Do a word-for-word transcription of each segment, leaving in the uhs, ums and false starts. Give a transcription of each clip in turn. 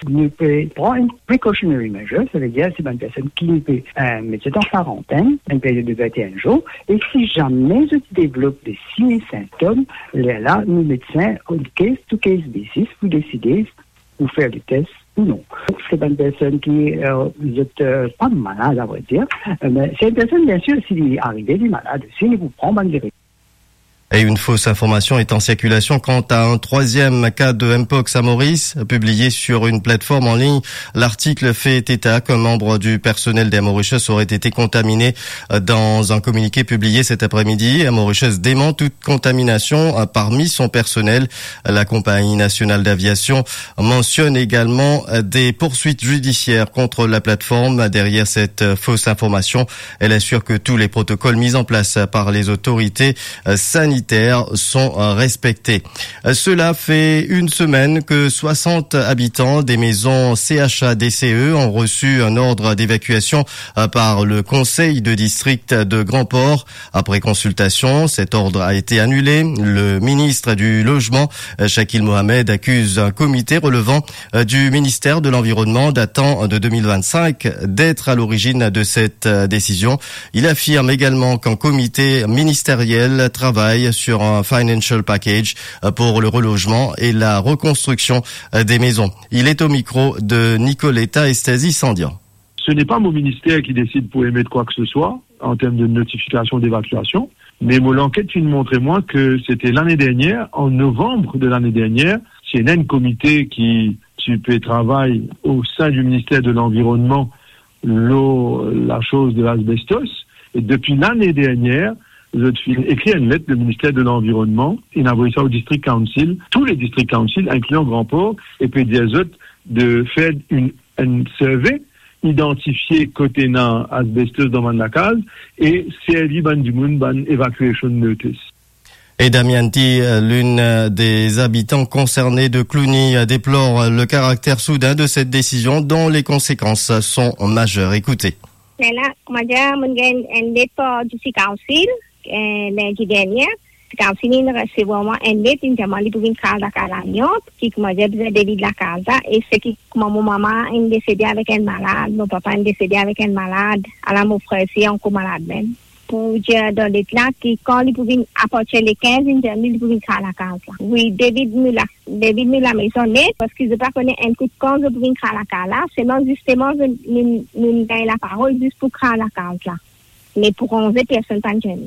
Nou pe pran enn precautionary measure, savedir se bann personn ki nou pe, eh, met zot an karantenn, enn period de vinteen zour, e si zame zot devlop de sign e sintom, lerla nou medsin, on case to case basis, pou deside pou fer le tes ou non. Se bann personn ki, eh, zot, eh, pa malad, a vre dir, eh, me se enn personn, bien sir, si li arive, li malad osi, li pou pran bann dire- Et une fausse information est en circulation quant à un troisième cas de Mpox à Maurice, publié sur une plateforme en ligne. L'article fait état qu'un membre du personnel d'Air Mauritius aurait été contaminé. Dans un communiqué publié cet après-midi, Air Mauritius dément toute contamination, euh, parmi son personnel. La compagnie nationale d'aviation mentionne également, euh, des poursuites judiciaires contre la plateforme derrière cette, euh, fausse information. Elle assure que tous les protocoles mis en place par les autorités, euh, sanitaires sont, euh, respectés. Euh, cela fait une semaine que soixante habitants des maisons C H A D C E ont reçu un ordre d'évacuation, euh, par le conseil de district de Grand-Port. Après consultation, cet ordre a été annulé. Le ministre du Logement, euh, Shakil Mohamed, accuse un comité relevant, euh, du ministère de l'Environnement datant de deux mille vingt-cinq d'être à l'origine de cette, euh, décision. Il affirme également qu'un comité ministériel travaille sur un financial package, euh, pour le relogement et la reconstruction, euh, des maisons. Il est au micro de Nicoletta Estazi-Sandian. Ce n'est pas mon ministère qui décide pour émettre quoi que ce soit en termes de notification d'évacuation, mais mo lanket finn montre mwa ke sete lane dernier, an novanm de lane dernier, ti ena enn komite ki ti pe travay o sin di minister de lanvironnman lor lasoz de lasbestos, e depi lane dernier, zot finn ekrir enn let le minister de lanvironnman, inn avoy sa o district council, tou le district council, inklian Grand-Port, e pe dir zot de fer enn, enn survey, idantifie kot ena asbestos dan bann lakaz e servi bann dimoun bann evacuation notice. Et Damian T, l'une des habitants concernés de Cluny, déplore le caractère soudain de cette décision dont les conséquences sont majeures. Écoutez. Lerla, koumadir, mo'nn gagn enn let par district council, eh, lindi dernier. District council inn resevwar mwa enn let, inn dir mwa li pou vinn kraz lakaz la Lyon, ki koumadir bizin devid lakaz la, e seki kouma mo mama inn desede avek enn malad, mo papa inn desede avek enn malad, ala mo frer si ankor malad mem. Pou dir dan let la ki kan li pou vinn, apartir le kinz, inn dir li, li pou vinn kraz lakaz la. Wi, devid nou la, devid nou lamaison net, parski zot pa kone enn kout kan zot pou vinn kraz lakaz la, selman zisteman zot, nou, nou gagn laparol zis pou kraz lakaz la. Me pou ranze, personn pa'nn gagn.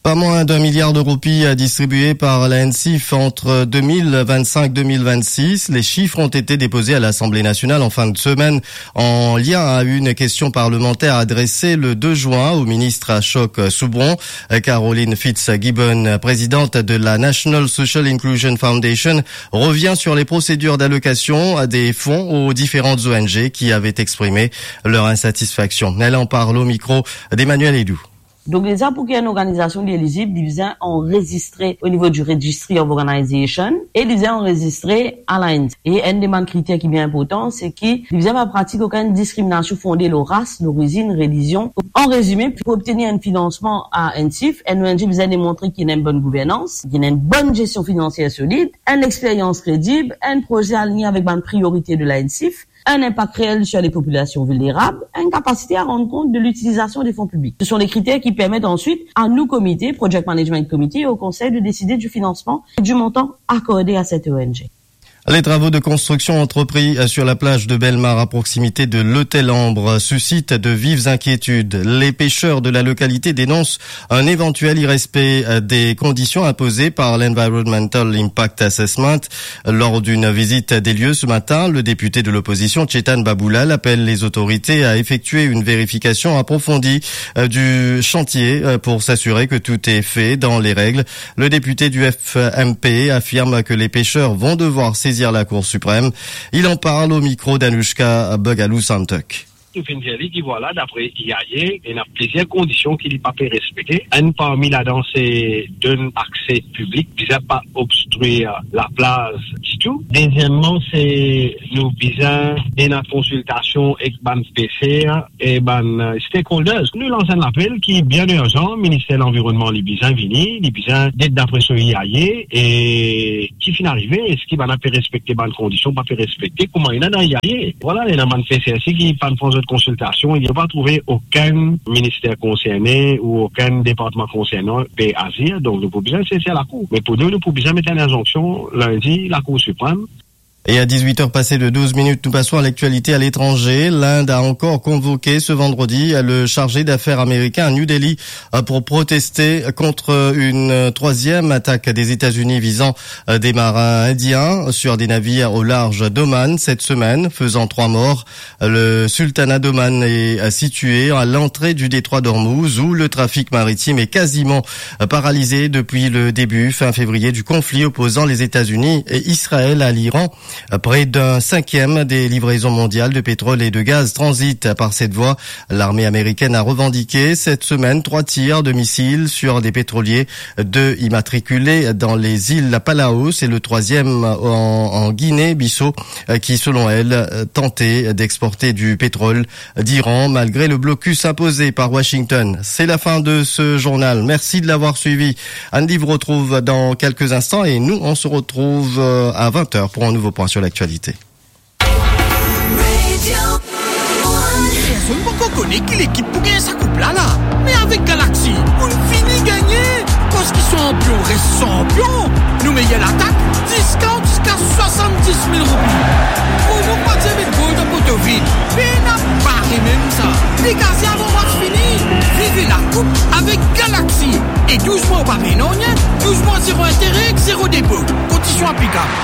Pas moins d'un milliard de roupies distribuées par la NCIF entre deux mille vingt-cinq deux mille vingt-six. Les chiffres ont été déposés à l'Assemblée nationale en fin de semaine en lien à une question parlementaire adressée le deux juin au ministre Ashok Soubron. Caroline Fitzgibbon, présidente de la National Social Inclusion Foundation, revient sur les procédures d'allocation des fonds aux différentes O N G qui avaient exprimé leur insatisfaction. Elle en parle au micro d'Emmanuel Edou. Donk deza, pou ki enn organizasion li elizib, li bizin anrezistre o nivo di Registry of Organization e li bizin anrezistre a la NCIF. E enn de bann kriter ki bien inportan, se ki li bizin pa pratik okenn diskriminasion fonde lor ras, lorizinn, relizion. An rezime, pou obtenir enn finansman a NCIF, enn O N G bizin demontre ki ena enn bonn gouvernans, ki ena enn bonn gestion finansier solid, enn experyans kredib, enn proze aligne avek bann priorite de la NCIF, enn inpak reel sir le popilasion vilnerab, enn kapasite a rann kont de litilizasion de fon piblik. Ce sont les critères qui permettent ensuite à nos comités, Project Management Committee, et au Conseil de décider du financement et du montant accordé à cette O N G. Les travaux de construction entrepris sur la plage de Bellemare à proximité de l'Hôtel Ambre suscitent de vives inquiétudes. Les pêcheurs de la localité dénoncent un éventuel irrespect, euh, des conditions imposées par l'Environmental Impact Assessment. Lors d'une visite des lieux ce matin, le député de l'opposition, Chetan Baboulal, appelle les autorités à effectuer une vérification approfondie, euh, du chantier, euh, pour s'assurer que tout est fait dans les règles. Le député du F M P affirme que les pêcheurs vont devoir saisir la Cour suprême. Il en parle au micro d'Anouchka Bogalou-Santok. Nou finn dir li ki vwala, dapre I A E, ena plizier kondision ki li pa pe respekte. Enn parmi ladan se donn akse piblik, bizin pa obstrir laplaz ditou. Deziemman, se nou bizin ena konsiltasion ek bann peser e bann, eh, stakeholders. Nou lans enn lapel ki bien irzan, Minister Lanvironnman, li bizin vini, li bizin get dapre so I A E, e ki finn arive, eski bann la pe respekte bann kondision, pa pe respekte, kouma ena dan I A E. Vwala, ena bann peser ki pann pran zot konsiltasion, nou pa trouve okenn minister konserne ou okenn departman konserne pe azir, donk nou pou bizin sezi lakour. Me pou nou, nou pou bizin met enn inzonksion lindi Lakour Siprem. Et à dix-huit heures passées de douze minutes, nous passons à l'actualité à l'étranger. L'Inde a encore convoqué ce vendredi le chargé d'affaires américain à New Delhi, euh, pour protester contre une troisième attaque des États-Unis visant, euh, des marins indiens sur des navires au large d'Oman cette semaine, faisant trois morts. Le sultanat d'Oman est, euh, situé à l'entrée du détroit d'Ormuz, où le trafic maritime est quasiment, euh, paralysé depuis le début, fin février, du conflit opposant les États-Unis et Israël à l'Iran. Près d'un cinquième des livraisons mondiales de pétrole et de gaz transitent par cette voie. L'armée américaine a revendiqué cette semaine trois tirs de missiles sur des pétroliers, deux immatriculés dans les îles Palau et le troisième en, en Guinée-Bissau, euh, qui, selon elle, euh, tentait d'exporter du pétrole d'Iran malgré le blocus imposé par Washington. C'est la fin de ce journal. Merci de l'avoir suivi. Andy vous retrouve dans quelques instants et nous, on se retrouve, euh, à vingt heures pour un nouveau point sur l'actualité. Personn poko kone ki lekip pou gagn sa koup la la. Me avek Galaxy, ou fini gagne. Kan ki sanpion res sanpion, nou meyer latak, diskont ziska swasanndis mil roupi. Promo pa dir met gol dan poto vid. Pena pare mem sa. Degaze avan match fini. Viv lakoup avek Galaxy. E douz mwa ou pa pey nanye, douz mwa zero intere, zero depo. Kondision aplikab.